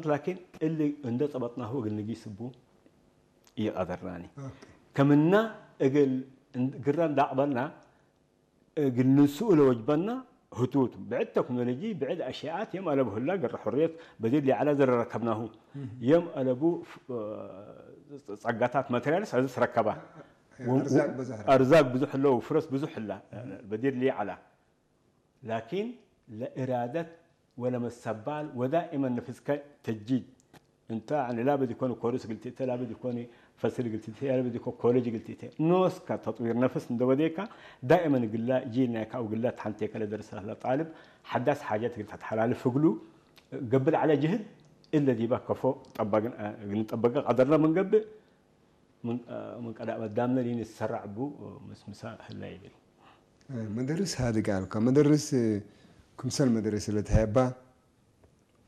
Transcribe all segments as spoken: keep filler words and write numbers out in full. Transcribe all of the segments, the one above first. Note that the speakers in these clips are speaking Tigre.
ላኪን እሊ እንደ ጸበጥናሁ እግል ንጊስ እቡ ኢቀደርናኒ። ኦኬ። ከምና እግል እን-፣ ግረ እንደ አቅበልና እግል ንንስኡ ለወጅበና ህቱቱ። ብዕድ ተክኖሎጂ፣ ብዕድ አሽያአት የም አለቡ ህላ ግረ ሕርየት በዲር ሊዐለ ዘረ ረከብናሁ። እህ። የም አለቡ ፍ-፣ ጸጋታት ማቴሪያልስ አዚ ትረከባ። አርዛቅ ብዙሕ ረከብ። አርዛቅ ብዙሕ ህለው፣ ፍረስ ብዙሕ ህላ በዲር ሊዐላ። ላኪን ለእራደት ወለመሰባል ወዳእመን ነፍስከ ተጅዲድ። እንተ ያኒ ላብድ ኢኮን ኮርስ እግል ትእቴ፣ ላብድ ኢኮን ፈስል እግል ትእቴ፣ ላብድ ኢኮን ኮሌጅ እግል ትእቴ። ኖስከ ተጥዊር ነፍስ እንደ ወዴካ ዳእመን እግላ ጂል ናይካ አው እግላ ተሐንቴከ ለደርሰ ለጣልብ ሐዳስ ሓጀት እግል ተትሐላልፍ እግሉ ገብእ ለዐለ ጅህድ እለ ዲበ ከፎ ጠበግን-፣ እግል ንጠበቀ ቀደርነ ምን ገብእ ምን፣ ምን ቀዳም አዳምነ ሊንሰራዕ እቡ ምስምሳ ህላ ይብል። መደርስ ሃድግ አልከ። መደርስ ክምሰል መደርስ ለተሀየባ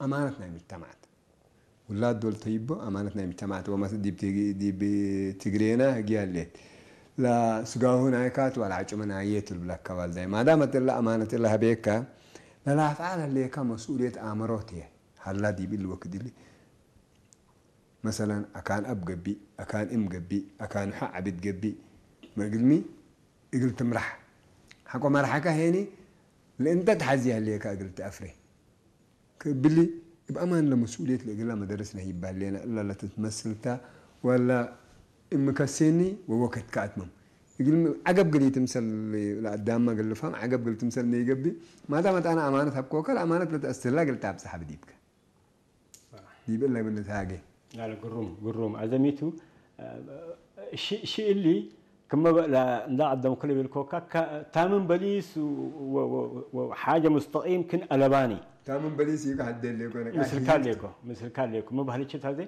አማነት ናይ ምጅተማዓት። ውላድ ዶል ተይቦ አማነት ናይ ምጅተማዓት ወመስ-፣ ዲብ ትግ-፣ ዲብ ትግሬና ህግየ ህሌት። ለስጋሁ ናይካት ወለዐጭመ ናየ ቱ ልብለከ ዋልዳይ። ማዳመት እለ አማነት እለ ሀቤከ፣ ለለአፍዓል ህሌከ መስኡልየት አመሮት ህዬ ሀላ ዲብ እሊ ወክድ እሊ። መሰለን፣ አካን አብ ገብእ፣ አካን እም ገብእ፣ አካን ሐ ዐቢድ ገብእ፣ ምን እግልሚ እግል ትምራሕ። ሐቆ መርሐከ ሄኒ ለእንተ ተሐዜ ህሌከ እግል ተአፍሬ። ከእብሊ እብ አማን ለመስኡልየት ለእግላ መደርስ ነህይብ በህሌነ፣ እላ ለትትመስልታ ወላ እም ከሴኒ ወወክድከ አትመም። እግልሚ ዐገብ እግል ኢትምሰል ለአዳምመ እግል ልፍሀም፣ ዐገብ እግል ትምሰል ነይገብእ፣ ማዳመት አነ አማነት ሀብኮከ፣ ለአማነት ለተአስትህላ እግል ተአብጽሐ ብዲብከ። ዲብ እለ ምን ልትሃጌ። ላለ፣ ግሩም፣ ግሩም። አዘሚቱ፣ ሺ-፣ ሺ እሊ ክመ በ-፣ ለ-፣ እንዳ ቀደምኩ ለቤልኮካ፣ ከ-፣ ታምን በሊስ ወ-፣ ወ-፣ ወ-፣ ወ-፣ ሓጀ ሙስተቂም ክን አለባኒ። ታምን በሊስ ኢኮ ሐዴ ሌኮ ነቃሽ ምስልካ ይጅቱ። ሌኮ፣ ምስልካ ሌኮ። መባህልችት ሀዜ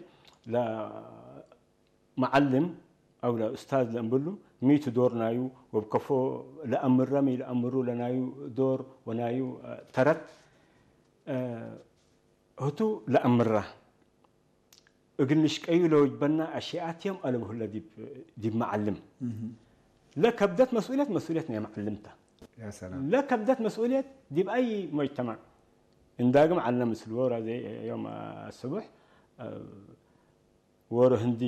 ለ-፣ መዐልም አው ለኡስታዝ ለእምብሉ ሚ ቱ ዶር ናዩ፣ ወብከፎ ለአምረ ሚ ለአምሩ ለናዩ ዶር ወናዩ፣ አ፣ ተረት፣ አ፣ ህቱ ለአምረ። እግል ንሽቀዩ ለወጅበና አሽያት የም አለብሁ ለዲብ፣ ዲብ መዐልም። እህ። ለከብደት መስኡልየት፣ መስኡልየት ናይ መዐልም ተ። ያ ሰላም። ለከብደት መስኡልየት ዲብ አይ ሙጅተማዕ። እንዳግም ዐልነ ምስል ዎሮ ዘይ ዮም አስቡሕ፣ አ፣ ዎሮ ህንዲ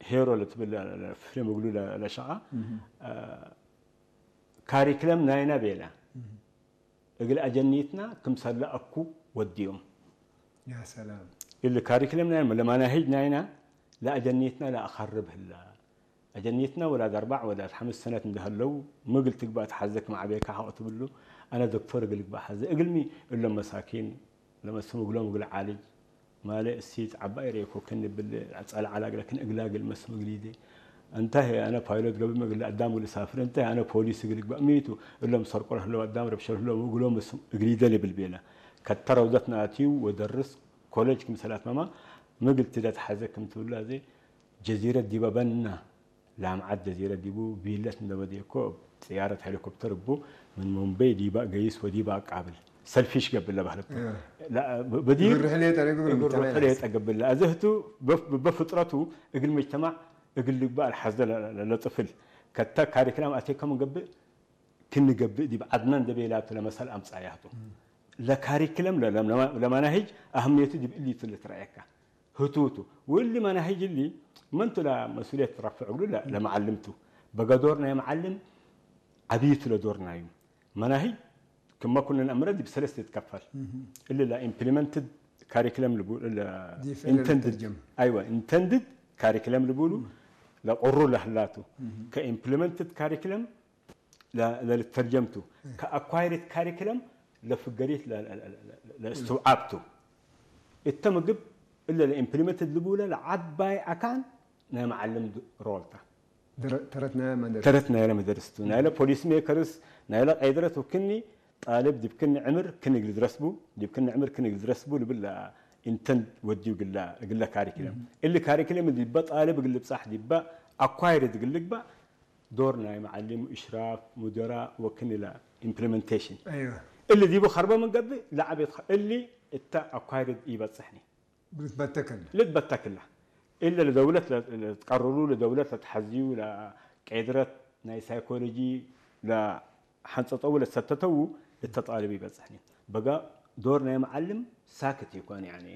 ሄሮ ለትብል ለ-፣ ለ-፣ ፊልም እግሉ ለ-፣ ለሸቃ፣ እህ። አ፣ ካሪክለም ናይነ ቤለ። እህ። እግል አጀኒትና ክምሰለ አኩ ወድዮም። ያ ሰላም። እሊ ካሪክለም ናይነ ለመናሂጅ ናይነ ለአጀኒትና ለአኸርብ ህላ። አጀኒትና ወላድ አርባዕ ወላድ ሐምስ ሰነት እንደ ሀለው፣ ሚ እግል ትግባእ ተሐዘ ክም ዐቤካ ሐቆ ትብሉ፣ አነ ዶክቶር እግል እግባእ ሐዘ። እግልሚ እሎም መሳኪን ለመስም እግሎም እግል ዓልጅ፣ ማሌ እሲት ዐባይ ሬኮ ክን እብል ጸልዐ ላግለ ክን እግላ እግል መስም እግሊዴ። እንተ ህዬ አነ ፓይሎት ገብእ እግል አዳም እግል እሳፍር፣ እንተ ህዬ አነ ፖሊስ እግል እግባእ ሚ ቱ፣ እሎም ሰርቆ ለህለው አዳም ረብሸ ለህለው እግሎም መስም እግሊዴ ልብል ቤለ። ከተ ረውደት ነአትዩ ወደርስ ኮሌጅ ክምሰል አትመማ፣ ሚ እግል ትደ ተሐዘ ክም ትብሉ አዜ ጀዚረት ዲበ በና። ላምዓት ጀዚረት ዲቡ ቪለት እንደ በዴኮ፣ እብ ጥያረት ሄሊኮፕተር እቡ ምን ሙምበይ ዲበ ገይስ ወዲበ አቃብል። ሰልፊሽ ገብእ ለበህለት። እህ። ላ-፣ በ-፣ በዲር ግብር ሕሌ ጠሪቁ ግብር ምጅተማዕ ሕሌ ለሐሰ። ጠገብለ። አዘህቱ በፍ-፣ በፍጥረቱ እግል ምጅተማዕ እግል ልግባእ አልሐዘ ለ-፣ ለ-፣ ለጥፍል። ከተ ካሪክላም አቴከ ምን ገብእ፣ ክን ገብእ ዲብ ዐድነ እንደ ቤላቱ ለመሰል አምጻያቱ። እም። ለካሪክለም ለ-፣ ለ-፣ ለመናሂጅ አህምየቱ ዲብ እሊቱ ልትረአየካ። ህቱቱ። ወእሊ መናሂጅ እሊ መንቱ ለመስኡልየት ረፍዕ እግሉ ለ-፣ ለመዐልምቱ። በገ ዶር ናይ መዐልም ዐቢቱ ለዶር ናዩ። መናሂጅ ክመ ኩሉ ነአምረ ዲብ ሰለስት ትትከፈል። እህ። እሊ ለኢምፕሊመንትድ ካሪክለም ልቡ-፣ ለ-፣ ዲፍ ኢንተንድድ፣ ለልተርጀም። አይወ፣ ኢንተንድድ ካሪክለም ልቡሉ እም። ለቁሩ ለህላቱ። እህ። ከኢምፕሊመንትድ ካሪክለም ለ-፣ ለልተርጀምቱ፣ እህ። ከአኳይርድ ካሪክለም ለፍገሪት ለ-፣ ለ-፣ ለ-፣ ለ-፣ ለእስትውዓብቱ። እተ ምግብ እለ ለኢምፕሊመንትድ ልቡለ ለዐባይ አካን ናይ መዐልም ድ-፣ ሮል ተ። ድረ-፣ ተረት ናይለ መደርስ። ተረት ናይለ መደርስ ቱ። ናይለ ፖሊሲ ሜከርስ፣ ናይለ ቀይድረት ወክኒ ጣልብ ዲብ ክኒ ዕምር ክኒ እግል ድረስ ቡ፣ ዲብ ክኒ ዕምር ክኒ እግል ድረስ ቡ ልብል ለኢንተንድ ወድዩ እግለ፣ እግለ ካሪክለም። እህ። እሊ ካሪክለም ዲበ ጣልብ እግል ልብጻሕ ዲበ አኳይርድ እግል ልግባእ ዶር ናይ መዐሊም፣ እሽራፍ፣ ሙደራእ ወክን ኢለ ኢምፕሊመንቴሽን። አይወ። እሊ ዲቡ ኸርበ ምን ገብእ ለዐቤት ኸ-፣ እሊ እተ አኳይርድ ኢበጽሕኒ። ልትበተክለ። ልትበተክለ። እለ ለደውለት ለ-፣ ለትቀርሩ፣ ለደውለት ለትሐዝዩ፣ ለቄድረት ናይ ሳይኮሎጂ ለሐንጸጠው ለሰተተው እተ ጣልብ ኢበጽሕኒ። በጋ ዶር ናይ መዐልም ሳክት ኢኮን፣ ያኒ